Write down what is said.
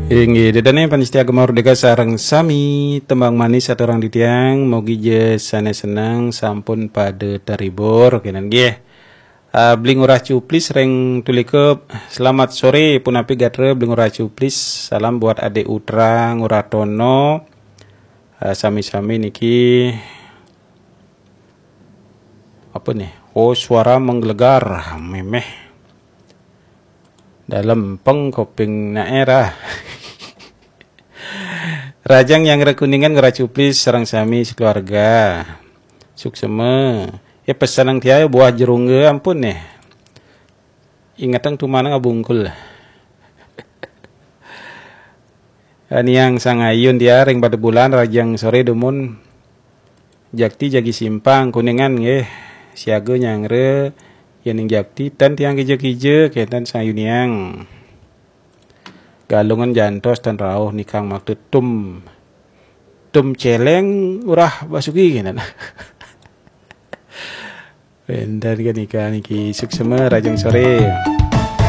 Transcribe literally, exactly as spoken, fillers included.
Inggih, ida dané pamiarsa Gema Merdeka sareng sami, tembang manis aturang titiang, mugi ja sané seneng sampun pada terhibur kénten nggih. Ah, Bli Ngurah Cuplis ring Tulikup, selamat sore, punapi gatra Bli Ngurah Cuplis, salam buat Adik Utra Ngurah Tono. Ah, sami-sami niki apa nih? Oh, suara menggelegar, méméh. Dalem peng koping naé ra. Rajang Nyanggra Kuningan Ngurah Cuplis sareng sami sekeluarga. Suksma. Ya pesenang tiang buah jerungga ampun nih. Ingetang tumanang abungkul. Niang Sangayun tiang ring Padebulan, rajang sore dumun. Jakti jagi Simpang Kuningan nggih. Siaga Nyanggra, yéning Jakti tan tiang kija-kija, kénten Sangayun niang. Galungan jantos tan rauh nikang makta tum. Tum céléng Ngurah Basuki kénten. Kénten nika niki suksma, rajang sore.